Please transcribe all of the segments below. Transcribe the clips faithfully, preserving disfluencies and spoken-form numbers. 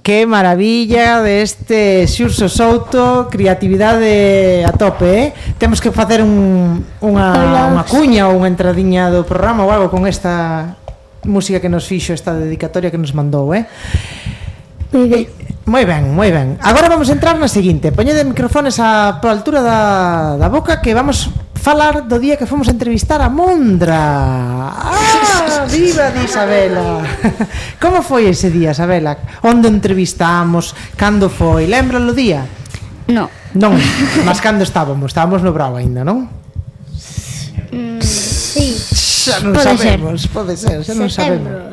Que maravilla deste Xurxo Souto, creatividade a tope, eh? Temos que facer un, unha, unha cuña ou unha entradiña do programa ou algo con esta música que nos fixo, esta dedicatoria que nos mandou, eh? Moi ben. Moi ben, moi ben. Agora vamos a entrar na seguinte. Poñede microfones a por altura da, da boca que vamos falar do día que fomos a entrevistar a Mondra. Ah, viva de Isabela. Como foi ese día, Isabela? Onde entrevistamos? Cando foi? Lembra o día? No. Non, mas cando estábamos? Estábamos no Bravo aínda, non? Mm, sí. Xa non Pode sabemos, ser. pode ser, xa non Setembro. sabemos.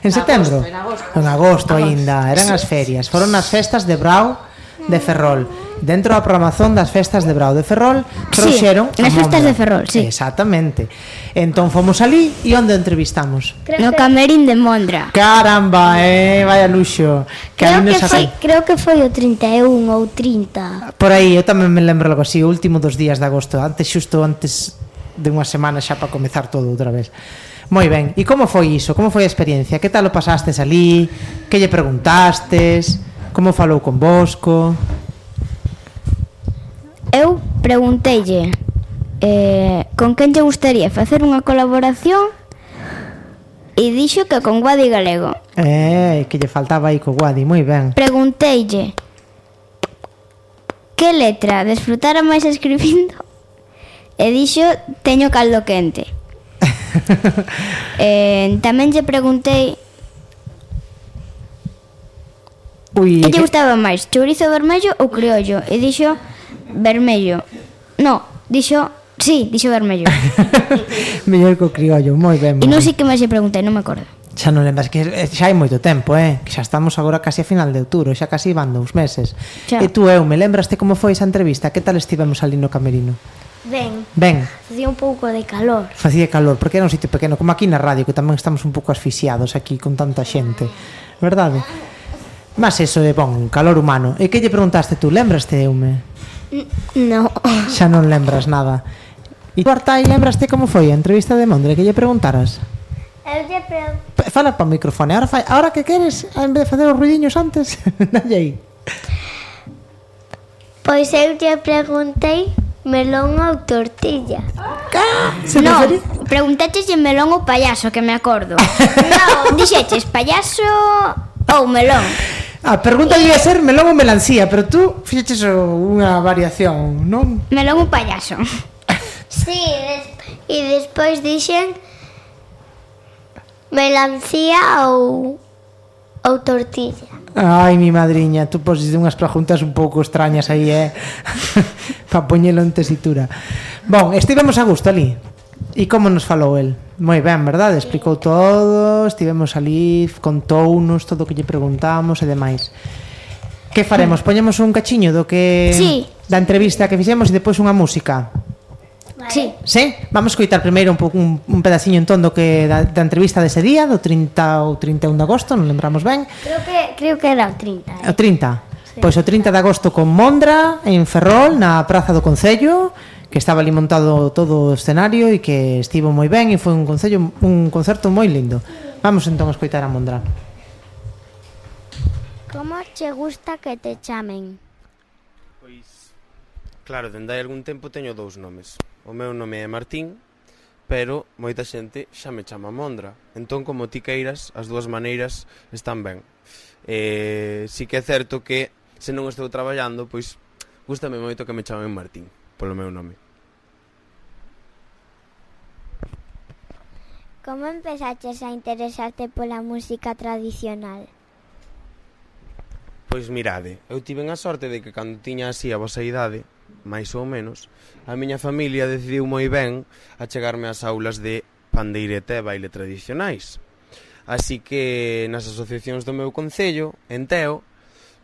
En setembro? En agosto. En agosto aínda, eran as ferias. Foron as festas de Brao de Ferrol. Dentro da programación das festas de Brao de Ferrol trouxeron sí, nas festas de Ferrol, sí. Exactamente. Entón fomos ali e onde entrevistamos? No camerín de Mondra. Caramba, eh, vaya luxo. Que Creo ali que, nos foi, saca- creo que foi o trinta e un ou trinta. Por aí, eu tamén me lembro algo así, o último dos días de agosto, antes xusto antes de unha semana xa para comezar todo outra vez. Moi ben, e como foi iso? Como foi a experiencia? Que tal o pasastes ali? Que lle preguntastes? Como falou con Bosco? Eu pregunteille eh, con quen lle gustaría facer unha colaboración e dixo que con Guadi Galego. Eh, que lle faltaba aí co Guadi, moi ben. Pregunteille que letra desfrutara máis escribindo e dixo teño caldo quente. eh, tamén lle preguntei Ui, que lle gustaba máis, chourizo vermello ou criollo e dixo vermello. No, dixo, sí, dixo vermello. mellor co criollo, moi ben. E moi non ben. sei que máis lle preguntei, non me acordo. Xa non lembras que xa hai moito tempo, eh? Que xa estamos agora casi a final de outubro, xa casi van dous meses. Xa. E tú, eu, me lembraste como foi esa entrevista? Que tal estivemos ali no camerino? Ben, Ben, facía un pouco de calor. facía calor, porque era un sitio pequeno, como aquí na radio, que tamén estamos un pouco asfixiados aquí con tanta xente, verdade? Mas eso é bon, calor humano. E que lle preguntaste tú? Lembraste, Eume? No. Xa non lembras nada. E tú, Artai, lembraste como foi a entrevista de Mondre? Que lle preguntaras? Eu lle preguntei. P- Fala para o microfone. Ahora, fai, ahora que queres, en vez de facer os ruidiños antes, dalle aí. Pois eu lle preguntei melón ou tortilla. Se No, referi- preguntaches de melón ou payaso, que me acordo. No, dixeches payaso ou melón. A pregunta debía ser melón ou melancía, pero tú fixeches unha variación, non? Melón ou payaso. Sí, e despois dixen melancía ou ou tortilla. Ai, mi madriña, tú poses unhas preguntas un pouco extrañas aí, eh? Pa poñelo en tesitura. Bon, estivemos a gusto ali. E como nos falou el? Moi ben, verdade? Explicou todo, estivemos ali, contounos todo o que lle preguntamos e demais. Que faremos? Poñemos un cachiño do que Sí. da entrevista que fixemos e depois unha música. Sí. Sí? Vamos coitar primeiro un, pouco, un, un pedaciño entón do que da, da entrevista dese día, do trinta ou trinta e un de agosto, non lembramos ben. Creo que creo que era o trinta. O trinta. Sí. Pois o trinta de agosto con Mondra en Ferrol, na Praza do Concello, que estaba ali montado todo o escenario e que estivo moi ben e foi un concello, un concerto moi lindo. Vamos entón a escoitar a Mondra. Como che gusta que te chamen? Pois, claro, dende hai algún tempo teño dous nomes. O meu nome é Martín, pero moita xente xa me chama Mondra. Entón, como ti queiras, as dúas maneiras están ben. Eh, si que é certo que, se non estou traballando, pois, gústame moito que me chamen Martín, polo meu nome. Como empezaches a interesarte pola música tradicional? Pois mirade, eu tiven a sorte de que cando tiña así a vosa idade, máis ou menos, a miña familia decidiu moi ben a chegarme ás aulas de pandeireta e baile tradicionais. Así que nas asociacións do meu concello, en Teo,